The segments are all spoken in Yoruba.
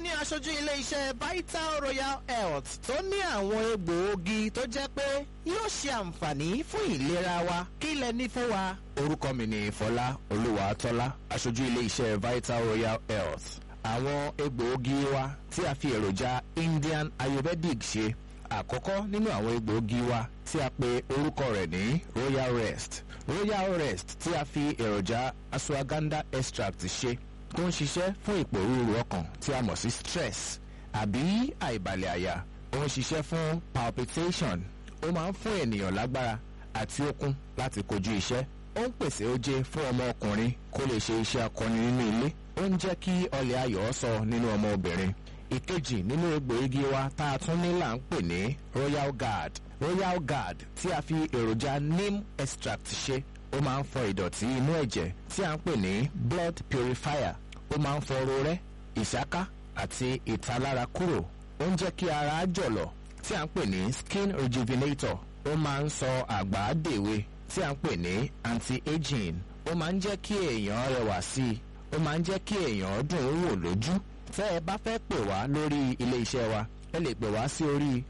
ní aṣojú ilé-iṣẹ́ Vital Royal Health tó ní àwọn egbòogi tó jẹ́ pé yóò ṣe àǹfààní fún ìlera wa. Kí lẹ ní fún wa? Orúkọ mi ni Fọlá Olúwatọ́lá, aṣojú ilé-iṣẹ́ Vital Royal Health. Àwọn egbòogi wa tí a fi èròjà Indian Ayurvedic ṣe. Àkọ́kọ́ nínú àwọn egbòogi wa tí a pe orúkọ rẹ̀ ní Royal Rest. Royal Rest tí a fi èròjà ashwagandha extract ṣe, tó ń ṣiṣẹ́ fún ìpòrúurú ọkàn tí a mọ̀ sí stress àbí àìbalẹ̀ àyà. Ó ń ṣiṣẹ́ fún palpitation. Ó máa ń fún ènìyàn lágbára àti okun láti kojú iṣẹ́. Ó ń pèsè oje fún ọmọ ọkùnrin kó lè ṣe iṣẹ́ akọni nínú ilé. Ó ń jẹ́ kí ọlẹ̀ ayọ̀ sọ nínú ọmọ obìnrin. Ìkejì nínú egbòogi wa tá a tún ní là ń pè ní Royal Guard. Royal Guard tí a fi èròjà neem extract ṣe, ó máa ń fọ ìdọ̀tí inú ẹ̀jẹ̀ tí a ń pè ní blood purifier. Ó máa ń fọ rorẹ́, ìsáká àti ìtalára kúrò. Ó ń jẹ́ kí ara jọ̀lọ̀ tí a ń pè ní skin rejuvenator. Ó máa ń sọ àgbà dèwe tí a ń pè ní anti-aging. Ó máa ń jẹ́ kí èèyàn rẹwà sí i. Ó máa ń jẹ́ kí èèyàn dùn ún wò lójú. Tẹ́ ẹ bá fẹ́ pè wá lórí ilé iṣẹ́ wa, ẹ lè pè wá sí orí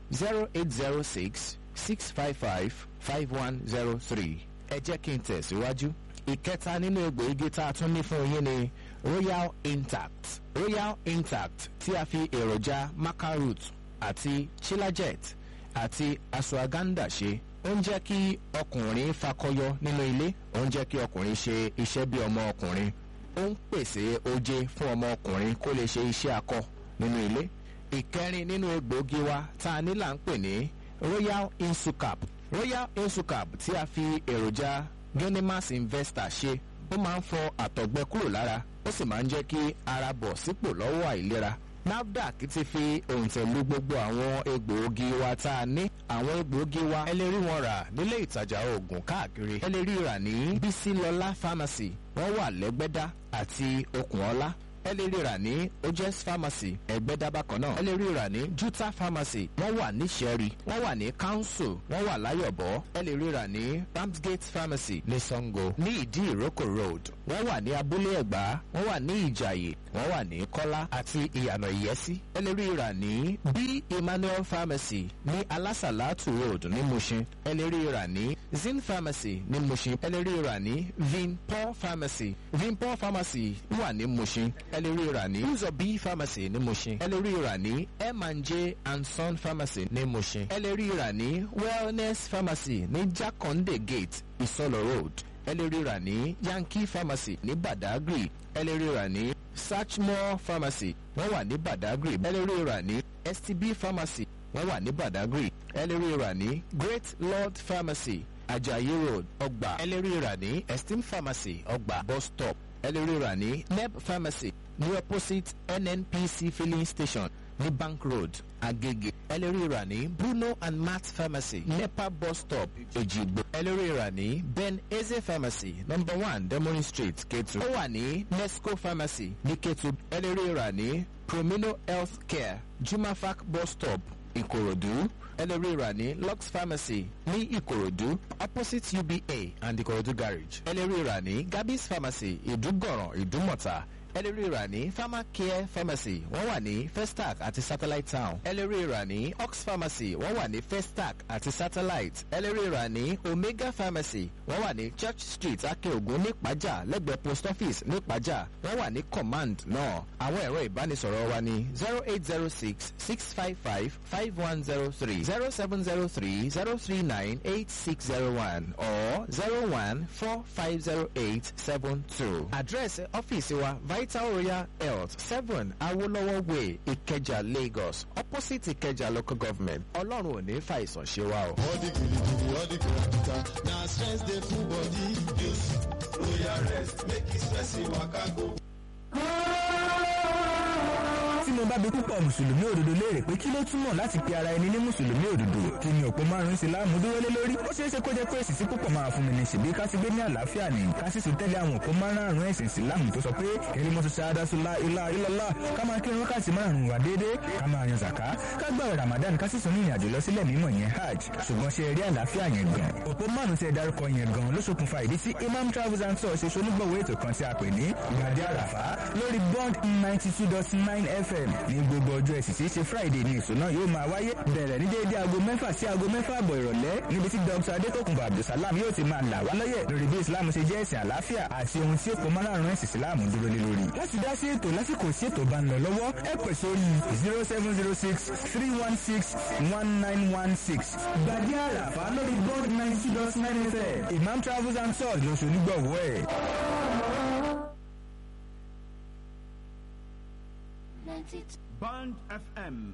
08066555103. Ẹ jẹ́ kí n tẹ̀síwájú. Ìkẹta nínú egbòogi tá a tún ní fún yín ni Royal Intact. Royal Intact tí a fi èròjà maca root àti chilajet àti ashwagandha ṣe, ó ń jẹ́ kí ọkùnrin fakọyọ nínú ilé. Ó ń jẹ́ kí ọkùnrin ṣe iṣẹ́ bí ọmọ ọkùnrin. Ó ń pèsè oje fún ọmọ ọkùnrin kó lè ṣe iṣẹ́ akọ nínú ilé. Ìkẹrin nínú egbòogi wa tá a ní là ń pè ní Royal Insucap. Royal Insucap tí a fi èròjà Genimas Investor ṣe, ó máa ń fọ àtọ̀gbẹ kúrò lára, ó sì máa ń jẹ́ kí ara bọ̀ sípò lọ́wọ́ àìlera. NAFDAC ti fi òǹtẹ̀ lu gbogbo àwọn egbòogi wa tá a ní. Àwọn egbòogi wa, ẹ lè rí wọn rà nílé ìtajà oògùn káàkiri. Ẹ lè rí rà ní Bísílọ́lá Pharmacy, wọ́n wà lẹ́gbẹ́dá àti Okùnọ́lá. Ẹ lè rí rà ní Ojes Pharmacy, Ẹgbẹ́dá bákan náà. Ẹ lè rí rà ní Juta Pharmacy, wọ́n wà ní Ṣẹ́rí, wọ́n wà ní Council, wọ́n wà Láyọ̀bọ̀. Ẹ lè rí rà ní Ramsgate Pharmacy ní Sango, ní Ìdí Ìrókò Road. Wọ́n wà ní Abúlé Ẹ̀gbá, wọ́n wà ní Ìjàyè, wọ́n wà ní Kọ́lá àti Ìyànà Ìyẹ́sí. Ẹ lè rí rà ní B Emmanuel Pharmacy ní Alásàlátù Road ní Mushin. Ẹ lè rí rà ní Zin Pharmacy ní Mushin. Ẹ lè rí rà ní Vinpol Pharmacy. Vinpol Pharmacy wà ní Mushin. Ẹ lè rí rà ní Uzo B Pharmacy ní Mushin. Ẹ lè rí rà ní M&J and Son Pharmacy ní Mushin. Ẹ lè rí rà ní Wellness Pharmacy ní Jakande Gate, Isolo Road. Ẹ lè rí rà ní Yankee Pharmacy ní Badagry. Ẹ lè rí rà ní Satchmore Pharmacy, wọ́n wà ní Badagry. Ẹ lè rí rà ní STB Pharmacy, wọ́n wà ní Badagry. Ẹ lè rí rà ní Great Lord Pharmacy, Ajayi Road, Ọgbà. Ẹ lè rí rà ní Esteem Pharmacy, Ọgbà bus stop. Ẹ lè rí rà ní Neb Pharmacy ní opposite NNPC filling station ní Bank Road, Agege. Ẹ lè rí rà ní Bruno and Matt Pharmacy, NEPA bus stop, Èjìgbò. Ẹ lè rí rà ní Ben Eze Pharmacy, number 1 Demorin Street, Ketu. Ó wà ní Nesco Pharmacy ní Ketu. Ẹ lè rí rà ní Promino Health Care, Jumafac bus stop, Ìkòròdú. Ẹ lè rí rà ní Lux Pharmacy ní Ìkòròdú, opposite UBA and Ìkòròdú garage. Ẹ lè rí rà ní Gabby's Pharmacy, Ìdúgọ̀ràn, Ìdúmọ̀tà. Ẹ lè rí rà ní Pharmacare Pharmacy, wọ́n wà ní Festac àti Satellite Town. Ẹ lè rí rà ní Ox Pharmacy, wọ́n wà ní Festac àti Satellite. Ẹ lè rí rà ní Omega Pharmacy, wọ́n wà ní Church Street, Akeogun, nípàjà, lẹ́gbẹ̀ẹ́ post office nípàjà. Wọ́n wà ní Command náà. Àwọn ẹ̀rọ ìbánisọ̀rọ̀ wa ní 08066555103, 07030398601 or 01450872. Àdírẹ́sì ọ́fíìsì wa, Vital Royal Health, 7 Awolowo Way, Ìkẹjà, Lagos, opposite Ìkẹjà Local Government. Ọlọ́run ò ní fàìsàn ṣe wá o. All the gidigidi, all the kìràkìtà, na stress dey full body. Use Royal Rest, make e stress e waka go. Tí mo bá bi púpọ̀ mùsùlùmí òdodo léèrè pé kí ló túmọ̀ láti pe ara ẹni ní mùsùlùmí òdodo, kí ni òpó márùn-ún ìsìláàmù dúró lé lórí, ó ṣeé ṣe kó jẹ́ pé èsì sí púpọ̀ máa fún mi ní ṣèbí ká sì gbé ní àlàáfíà ní ká sì tún tẹ̀lé àwọn òpó márùn-ún ẹ̀sìn ìsìláàmù tó sọ pé kẹlímọ́tò ṣáádásúlá ilá ilọ́lá, ká máa kírun wákàtí márùn-ún wà déédéé, ká máa yan zàká, ká gbààwẹ̀ Ramadan, ká sì tún ní ìrìnàjò lọ sílẹ̀ mímọ́ yẹn, hajj. Ṣùgbọ́n ṣe rí àlàáfíà yẹn gan, òpó márùn-ún tí ẹ dárúkọ yẹn gan ló ṣokùnfà ìdí tí Imam Travels and Tours ṣe ṣonígbọ̀wọ́ ètò kan tí a pè ní Ìgbàdí Àràfá lórí Bond 92.9 FM. Ní gbogbo ọjọ́ ẹ̀sìn tí í ṣe Friday ní ètò náà yóò máa wáyé, bẹ̀rẹ̀ ní déédéé aago 6 sí aago 6:30 ìrọ̀lẹ́, níbi tí Dr. Adétòkùnbọ̀ Abdulsalam yóò ti máa là wá lọ́yẹ̀ lórí bí Islam ṣe jẹ́ ẹ̀sìn àlàáfíà àti ohun tí òpó márààrún ẹ̀sìn Islam dúró lé lórí. Láti dá sí ètò lásìkò sí ètò bá ń lọ lọ́wọ́, ẹ pè sórí 07063161916. Gbàdí Àràfá lórí Bond 92.9 FM. Imam Travels and Tours lóṣù onígbọ̀wọ́ ẹ̀. Bond FM.